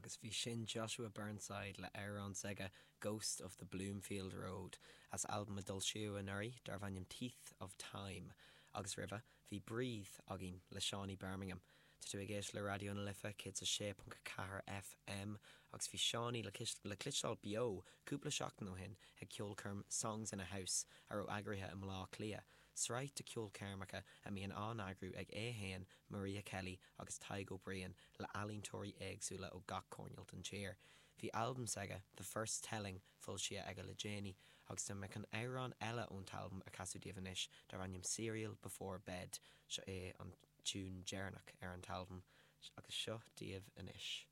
Agus bhí sin Joshua Burnside le amhrán s'aige Ghost of the Bloomfield Road as albam a d'fhoilsíodh anuraidh darbh ainm Teeth of Time agus roimhe bhí Breathe againn le Seánie Birmingham. Tá tú ag éisteacht le Raidió na Life 106.4 FM agus bhí Seánie le cloisteáil beo cúpla seachtain ó shin ag ceolchoirm Songs in a House a raibh eagraithe i mBleá Cliath, sraith de cheolchoirmeacha a mbíonn á n-eagrú ag é féin, Maria Kelly agus Tadhg Ó Briain le healaíontóirí éagsúla ó gach coirnéal den tír. Bhí albam s'aige, The First Telling, foilsithe aige le déanaí agus tá mé chun amhrán eile ón t-albam a chasadh daoibh anois darb ainm Cereal Before Bed. Seo é an tiún deireanach ar an t-albam agus seo daoibh anois.